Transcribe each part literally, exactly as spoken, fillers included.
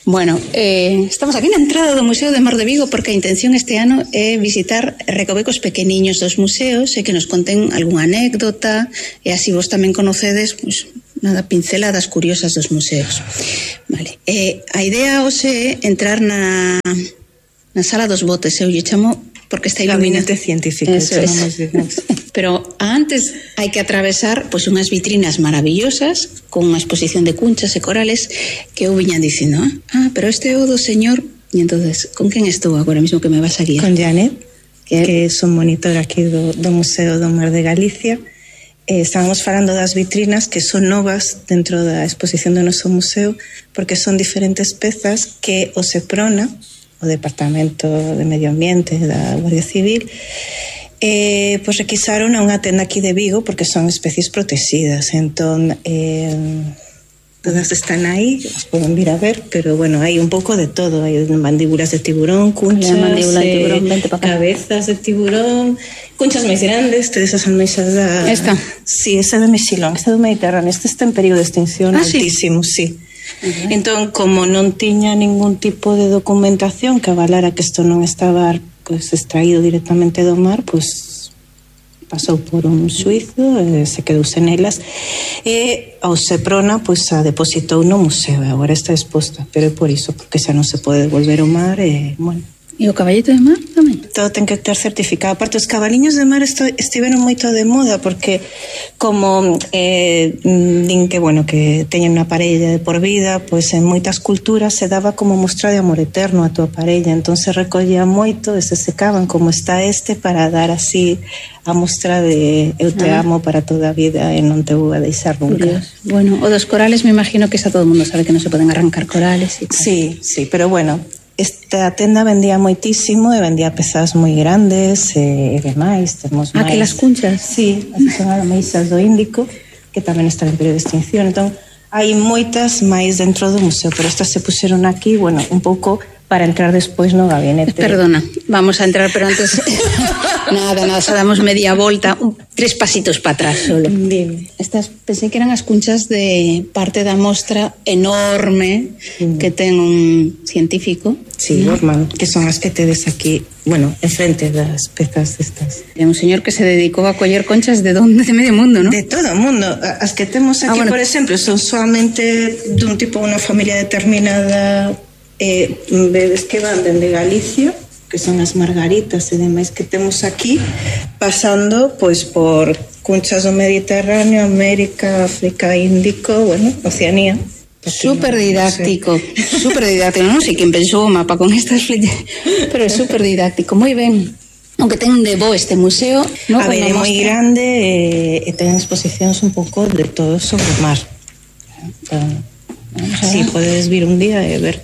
Bueno, eh, estamos aquí na entrada do Museo de Mar de Vigo porque a intención este ano é visitar recovecos pequeniños dos museos e que nos conten algunha anécdota e así vos tamén conocedes, pues, nada, pinceladas curiosas dos museos. Vale, eh, a idea hoxe é entrar na, na sala dos botes, eu lle chamo porque está iluminado. Gabinete científico. Eso es. Pero antes hai que atravesar pois unhas vitrinas maravillosas con unha exposición de cunchas e corales que eu viña dicindo, ah, pero este é o do señor. E entonces, con quen estou agora mesmo que me vas a guiar? Con Janet, que, que son monitora aquí do, do Museo do Mar de Galicia. Eh, estábamos falando das vitrinas que son novas dentro da exposición do noso museo porque son diferentes pezas que o SEPRONA, o Departamento de Medio Ambiente da Guardia Civil, eh, pues requisaron a unha tenda aquí de Vigo porque son especies protegidas. Entón, eh, todas están aí, as poden vir a ver, pero bueno, hai un pouco de todo. Hai mandíbulas de tiburón, cunchas, mandíbula de tiburón, eh, cabezas de tiburón, cunchas máis grandes, tedes as almeixas da... Esta? Sí, esa de Mexilón, esta do Mediterráneo. Esta está en período de extinción ah, altísimo, sí. sí. Uh-huh. Entón, como non tiña ningún tipo de documentación que avalara que isto non estaba pues, extraído directamente do mar, pues pasou por un xuizo, eh, se quedou sen elas e ao SEPRONA pues, a depositou no museo e agora está exposta, pero é por iso, porque xa non se pode devolver ao mar e, bueno. E o caballito de mar tamén? Todo ten que ter certificado. Aparte, os cabaliños de mar esto, estiveron moito de moda porque como eh, din que, bueno, que teñen unha parella de por vida, pois en moitas culturas se daba como mostra de amor eterno a tua parella, entón se recollía moito e se secaban como está este para dar así a mostra de eu te ah. amo para toda a vida e non te vou a deixar nunca. Curioso. Bueno, o dos corales me imagino que xa todo o mundo sabe que non se poden arrancar corales e tal. Sí, sí, pero bueno, esta tenda vendía moitísimo e vendía pezas moi grandes e demais. Temos ah, máis... que las cunchas? Sí, as son almeixas do Índico, que tamén están en período de extinción. Entón, hai moitas máis dentro do museo, pero estas se puseron aquí, bueno, un pouco para entrar despois no gabinete. Perdona, vamos a entrar, pero antes... nada, nada, xa damos media volta, un, tres pasitos para atrás solo. Dime. Estas pensei que eran as cunchas de parte da mostra enorme mm. que ten un científico. Sí, ¿no? Borman, que son as que tedes aquí, bueno, enfrente das pezas destas. É un señor que se dedicou a coller conchas de donde? De medio mundo, ¿no? De todo o mundo. As que temos aquí, ah, bueno, por exemplo, son solamente dun tipo, unha familia determinada, eh, bebés que van dende Galicia, que son as margaritas e demais que temos aquí, pasando pois por cunchas do Mediterráneo, América, África, Índico, bueno, Oceanía. Súper didáctico, no sé. Súper didáctico, non sei quen pensou o mapa con estas flechas, pero é súper didáctico, moi ben. Aunque ten de bo este museo, no? A ver, é moi grande e, e ten exposicións un pouco de todo sobre o mar. Entón, si, sí, podes vir un día e ver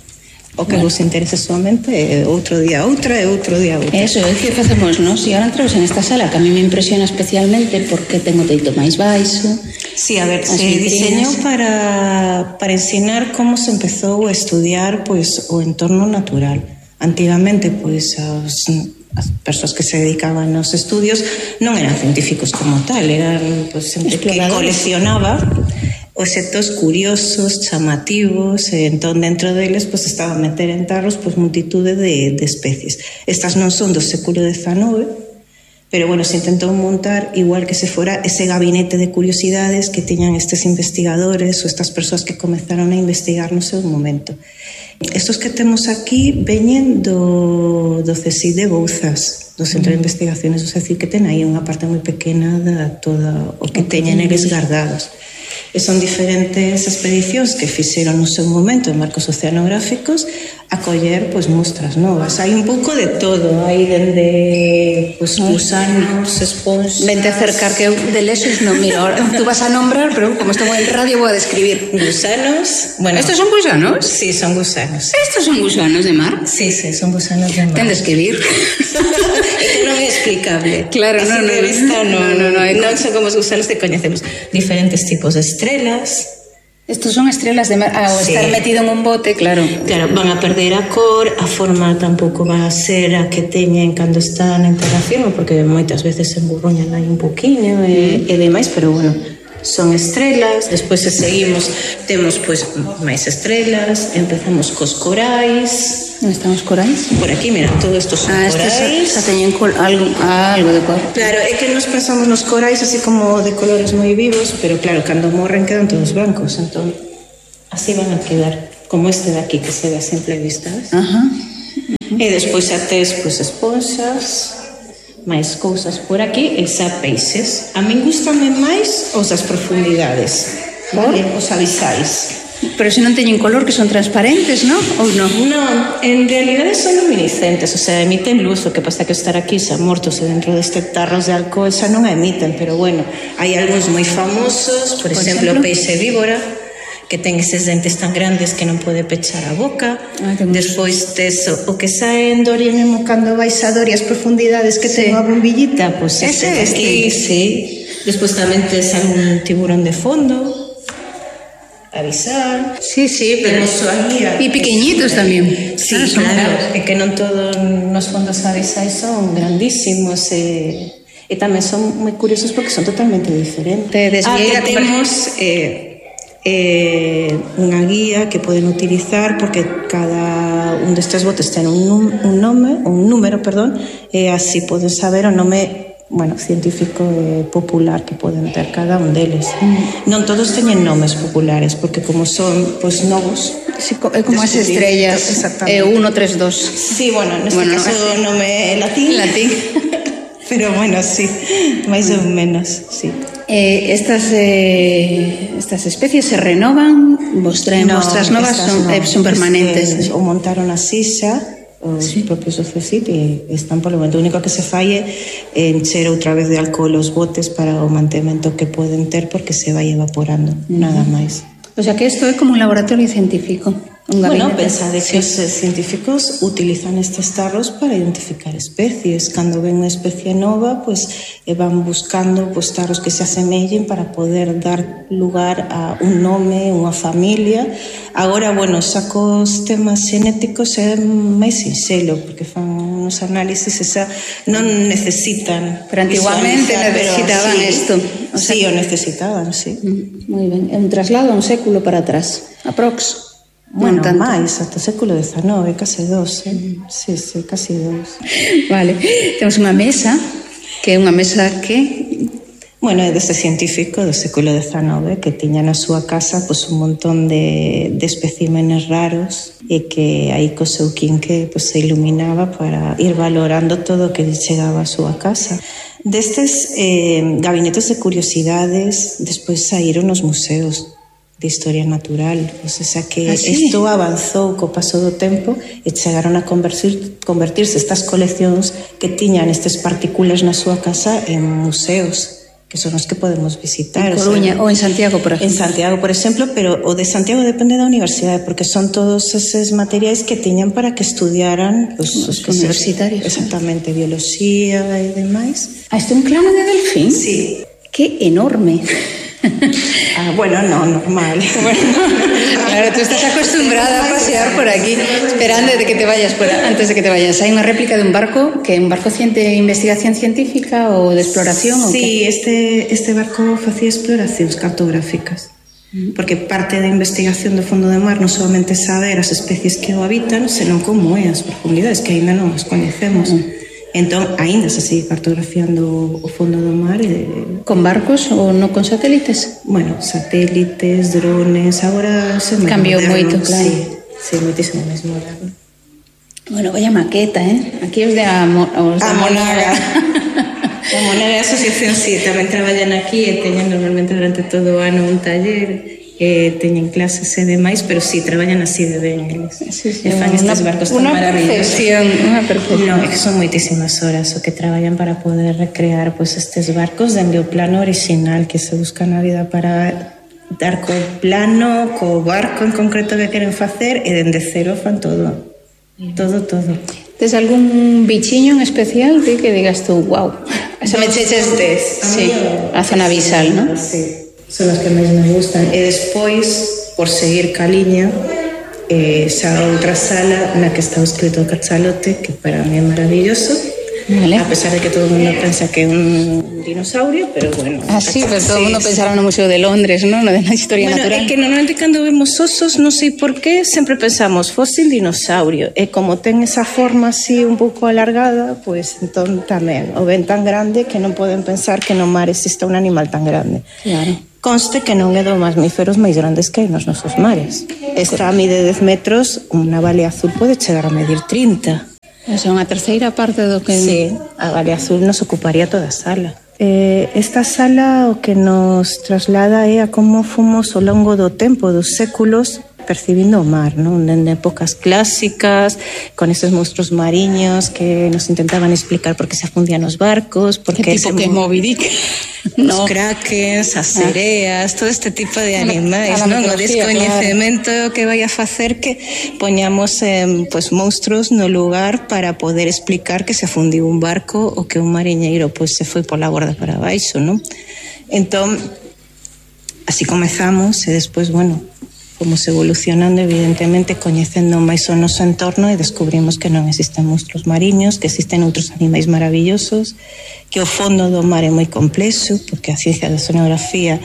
o que bueno. Vos interese somente, e outro día outra e outro día outra. Eso, é dicir, facemos, non? Si ahora entramos en esta sala, que a mí me impresiona especialmente porque ten o teito máis baixo. Sí, a ver, se diseñou para, para ensinar como se empezou a estudiar pois, o entorno natural. Antigamente, pois, as, as persoas que se dedicaban aos estudios non eran científicos como tal, eran pois, xente que coleccionaba obxectos curiosos, chamativos, e entón dentro deles pues, estaba a meter en tarros pues, multitude de, de especies. Estas non son do século dezenove, pero bueno, se intentou montar igual que se fora ese gabinete de curiosidades que tiñan estes investigadores ou estas persoas que comezaron a investigar no seu momento. Estos que temos aquí veñen do, do CSIC de Bouzas, do Centro de Investigaciones do CSIC, que ten aí unha parte moi pequena de todo o que teñen eles guardados. E son diferentes expedicións que fixeron no seu momento en marcos oceanográficos a coller pois, mostras novas. Hai un pouco de todo, hai dende pois, gusanos, esponxas... Vente a acercar que eu de lesos non miro. Ahora tú vas a nombrar, pero como estamos en radio vou a describir. Gusanos... Bueno, ¿estos son gusanos? Sí, son gusanos. ¿Estos son gusanos de mar? Sí, sí, son gusanos de mar. Tendes que vir. É que non é explicable. Claro, así non, non, vista, no, no, no, non, non son como os gusanos que coñecemos. Diferentes tipos de estrelas. Estos son estrelas de mar. Ah, o sí. Estar metido en un bote, claro. Claro, van a perder a cor, a forma tampouco va a ser a que teñen cando están en terra firme, porque moitas veces se emburruñan aí un poquinho e, e demais, pero bueno, son estrelas, despois se seguimos temos pois máis estrelas, empezamos cos corais. Onde están os corais? Por aquí, mira, todo isto son ah, corais. Xa teñen col, algo, ah, algo de cor. Claro, é que nos pensamos nos corais así como de colores moi vivos, pero claro, cando morren quedan todos blancos, entón así van a quedar, como este de aquí que se ve a simple vista, ¿ves? Ajá. E despois xa tes pois esponxas, máis cousas por aquí e xa peixes. A min gustame máis os das profundidades, vale? Os abisais. Pero se non teñen color, que son transparentes, non? Ou non? Non, en realidade son luminiscentes, o sea, emiten luz, o que pasa que estar aquí xa mortos e dentro deste tarros de alcohol xa non emiten, pero bueno, hai algúns moi famosos, por, por exemplo, o peixe víbora, que ten eses dentes tan grandes que non pode pechar a boca. Ah, despois tes o, o que sae en Dorian Emo cando vais a Doria as profundidades que sí. ten a bombillita, pois pues ese este aquí, sí. Despois tamén tes algún tiburón de fondo, avisar. Sí, sí, pero guía. E pequeñitos eh, tamén. Sí, ah, claro, é que non todos nos fondos avisais son grandísimos e, e tamén son moi curiosos porque son totalmente diferentes. Ah, que temos eh, eh, unha guía que poden utilizar porque cada un destes botes ten un, un nome, un número, perdón, e así poden saber o nome, bueno, científico e popular que poden ter cada un deles. Mm. Non todos teñen nomes populares porque como son pois pues, novos, sí, é como as estrellas, é uno, tres, dos. Sí, bueno, neste bueno, caso o nome é latín. Latín. Pero bueno, sí, máis ou menos, sí. Eh, estas eh, estas especies se renovan, vos traen no, mostras novas, son, no, eh, son permanentes. Este, o montaron así xa os sí. propios O C C I T e están polo momento. O único que se falle é encher outra vez de alcohol os botes para o mantemento que poden ter porque se vai evaporando, uh-huh. nada máis. O sea que isto é como un laboratorio científico. Un bueno, pensade que sí. os científicos utilizan estes tarros para identificar especies. Cando ven unha especie nova, pues, eh, van buscando pues, tarros que se asemellen para poder dar lugar a un nome, unha familia. Agora, bueno, xa cos temas xenéticos é máis sinxelo, porque fan uns análisis e xa non necesitan. Pero antiguamente necesitaban isto. O sea, sí, o necesitaban, sí. Moi ben. É un traslado a un século para atrás, aprox. Bueno, máis, ata o século dezenove, case dos, eh? Mm. Sí, sí, casi dos. Vale, temos unha mesa, que é unha mesa que... Bueno, é deste científico do século dezenove que tiña na súa casa pues, un montón de, de especímenes raros e que aí co seu quinque pues, se iluminaba para ir valorando todo o que chegaba á súa casa. Destes eh, gabinetes de curiosidades despois saíron os museos de historia natural, o sea que ah, sí? isto avanzou co paso do tempo e chegaron a convertir, convertirse estas coleccións que tiñan estes partículas na súa casa en museos, que son os que podemos visitar. En Coruña, o, sea, ou en Santiago, por exemplo. En Santiago, por exemplo, pero o de Santiago depende da universidade, porque son todos eses materiais que tiñan para que estudiaran pues, os, os universitarios. Exactamente, biología e demais. Ah, este é un clano de delfín? Sí. Que enorme. Ah, bueno, no, normal. Bueno, claro, tú estás acostumbrada a pasear por aquí, esperando de que te vayas por antes de que te vayas. Hay una réplica de un barco, que é un barco de investigación científica ou de exploración? Sí, este, este barco facía exploracións cartográficas. Porque parte da investigación do fondo do mar non solamente saber as especies que o habitan, senón como é as profundidades, que aínda non as coñecemos. Mm. Entón, aínda se sigue cartografiando o fondo do mar. E... Con barcos ou non con satélites? Bueno, satélites, drones, agora se me cambiou moito, claro. Sí, sí, moitísimo máis moderno. Bueno, vaya maqueta, eh? Aquí os de a, os a Monaga. A Monaga Asociación, sí, tamén traballan aquí e teñen normalmente durante todo o ano un taller e teñen clases e demais, pero sí, traballan así de ben eles. Sí, sí, e fan estes barcos tan maravillosos. Unha perfección. No, é que son moitísimas horas o que traballan para poder recrear pues, estes barcos dende o plano original que se busca na vida para dar co plano, co barco en concreto que queren facer e dende cero fan todo. Todo, todo. Tes algún bichiño en especial de que digas tú, wow, esa me cheches tes? Sí, a zona abisal, ¿no? Sí. Son as que máis me gustan. E despois, por seguir ca liña, eh, xa outra sala na que está o escrito o cachalote, que para mí é maravilloso, Vale. A pesar de que todo o mundo pensa que é un dinosaurio, pero bueno. Ah, sí, pero todo o sí, mundo sí. Pensará no Museo de Londres, ¿no? Na historia bueno, natural. É que normalmente cando vemos osos, non sei por qué, sempre pensamos fósil dinosaurio. E como ten esa forma así un pouco alargada, pois pues, entón tamén o ven tan grande que non poden pensar que no mar exista un animal tan grande. Claro. Conste que non é dos mamíferos máis grandes que hai nos nosos mares. Esta mide dez metros, unha baleá azul pode chegar a medir trinta. Esa é unha terceira parte do que... Sí, a baleá azul nos ocuparía toda a sala. Eh, esta sala o que nos traslada é a como fomos ao longo do tempo, dos séculos, percibindo o mar, non? En épocas clásicas, con esos monstruos mariños que nos intentaban explicar por que se afundían os barcos, por que tipo que é Moby Dick, os no. krakens, as sereas, todo este tipo de animais, non? O descoñecemento claro. Que vai a facer que poñamos eh, pues, monstruos no lugar para poder explicar que se afundiu un barco ou que un mariñeiro pues, se foi pola borda para baixo, non? Entón, así comezamos e despois, bueno, fomos evolucionando, evidentemente, coñecendo máis o noso entorno e descubrimos que non existen monstruos mariños, que existen outros animais maravillosos, que o fondo do mar é moi complexo, porque a ciencia da oceanografía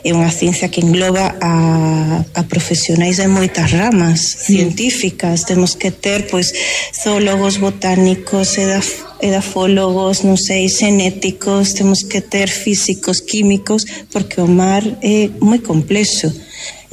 é unha ciencia que engloba a, a profesionais de moitas ramas científicas. Mm. Temos que ter, pois, zoólogos, botánicos, edaf edafólogos, non sei, xenéticos, temos que ter físicos, químicos, porque o mar é moi complexo.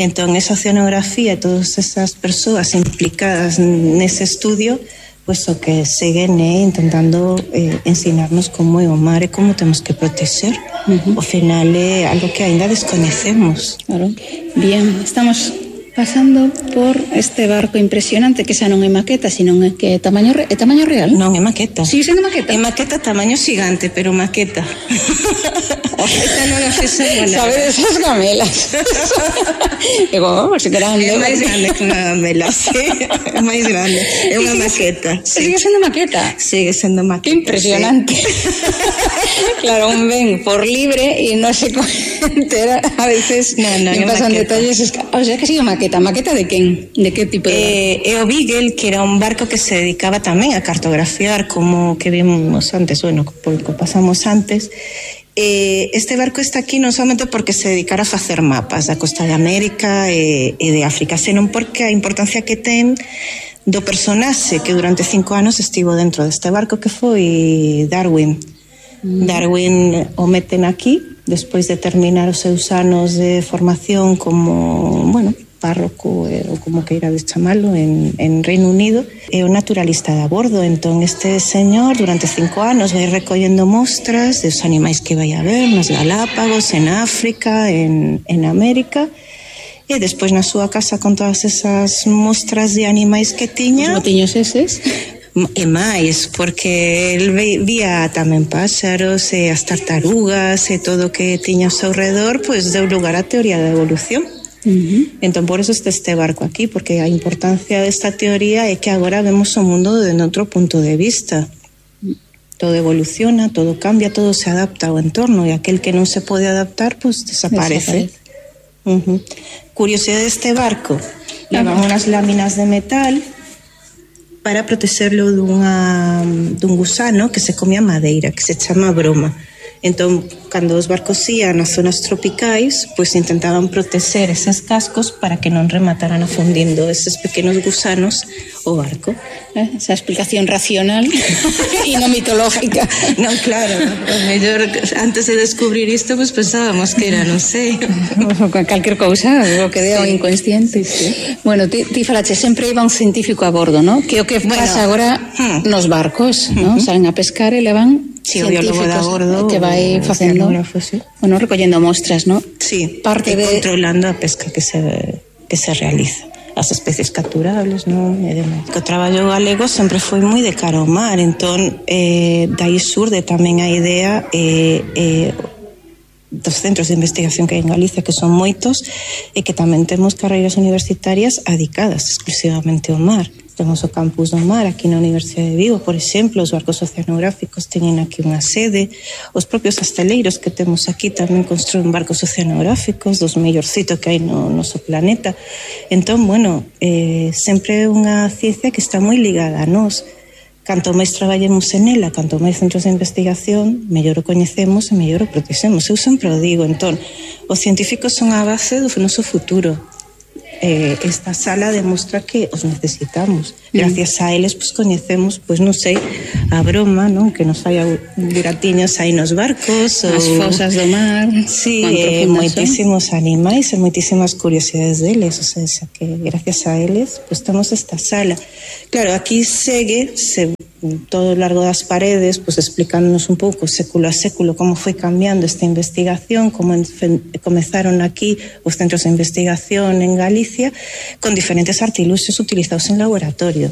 Entón, esa oceanografía e todas esas persoas implicadas nese estudio, pois o que seguen é intentando eh, ensinarnos como é o mar e como temos que proteger. Uh-huh. Ao final é algo que ainda descoñecemos. Claro. Bien, estamos pasando por este barco impresionante que xa non é maqueta, sino que é tamaño, re... é tamaño real. Non, é maqueta. Sigue sendo maqueta? É maqueta tamaño xigante, pero maqueta. Esta non é fesa buena. Sabes esas gamelas? É como, se grande. É máis grande que unha gamela, sí. É máis grande. É unha maqueta. Sí. Sigue sendo maqueta? Sigue sendo maqueta. Que impresionante. Sí. Claro, un ven por libre e non se entera. A veces no, no, me pasan maqueta. Detalles. O sea, que sigue maqueta. Maqueta de quen? De que tipo de barco? Eh, é o Beagle, que era un barco que se dedicaba tamén a cartografiar, como que vimos antes, bueno, porque pasamos antes. Eh, este barco está aquí non somente porque se dedicara a facer mapas da costa de América e, e de África, senón porque a importancia que ten do personaxe que durante cinco anos estivo dentro deste barco, que foi Darwin. Mm. Darwin o meten aquí despois de terminar os seus anos de formación como, bueno, párroco eh, ou como queirades chamalo en, en Reino Unido, é o naturalista de a bordo. Entón este señor durante cinco anos vai recollendo mostras dos animais que vai a ver nas Galápagos, en África, en, en América, e despois na súa casa con todas esas mostras de animais que tiña. Os botiños eses? E máis, porque el vía tamén páxaros e as tartarugas e todo o que tiña ao seu redor, pois deu lugar á teoría da evolución. Uh-huh. Entón por eso está este barco aquí, porque a importancia desta teoría é que agora vemos o mundo de outro punto de vista. Todo evoluciona, todo cambia, todo se adapta ao entorno, e aquel que non se pode adaptar, pues desaparece. Uh-huh. Curiosidade deste barco, levan uh-huh. unas láminas de metal para protegerlo dunha, dun gusano que se come a madeira, que se chama broma. Entón, cando os barcos ían nas zonas tropicais, pois intentaban proteger eses cascos para que non remataran afundindo eses pequenos gusanos o barco. Eh, esa explicación racional e non mitológica. Non, claro, o mellor antes de descubrir isto, pois pensábamos que era, non sei, calquer cousa, o que dea o sí. inconsciente. Sí, sí. Bueno, ti, ti falache, sempre iba un científico a bordo, ¿no? Que o que bueno, pasa agora hmm. nos barcos, ¿no? Uh-huh. Salen a pescar e levan sí, científicos de a bordo, que vai facendo, sí. bueno, recollendo mostras, ¿no? Sí, parte de controlando a pesca que se que se realiza, as especies capturables, non? E demais. O traballo galego sempre foi moi de cara ao mar, entón eh, dai surde tamén a idea eh, eh, dos centros de investigación que hai en Galicia, que son moitos, e que tamén temos carreiras universitarias adicadas exclusivamente ao mar. Temos o campus do mar aquí na Universidade de Vigo, por exemplo, os barcos oceanográficos teñen aquí unha sede, os propios asteleiros que temos aquí tamén construen barcos oceanográficos, dos mellorcitos que hai no noso planeta. Entón, bueno, eh, sempre é unha ciencia que está moi ligada a nós. canto máis traballemos en ela, canto máis centros de investigación, mellor o coñecemos e mellor o protexemos. Eu sempre o digo, entón, os científicos son a base do noso futuro. Eh, esta sala demostra que os necesitamos. Gracias a eles, pues, coñecemos, pues, non sei, a broma, non? Que nos fai buratiños aí nos barcos. As ou... fosas do mar. Sí, eh, moitísimos son animais e moitísimas curiosidades deles. O sea, que gracias a eles, pues, temos esta sala. Claro, aquí segue, se, todo o largo das paredes, pues, explicándonos un pouco século a século como foi cambiando esta investigación, como en, comezaron aquí os centros de investigación en Galicia, con diferentes artiluxos utilizados en laboratorio.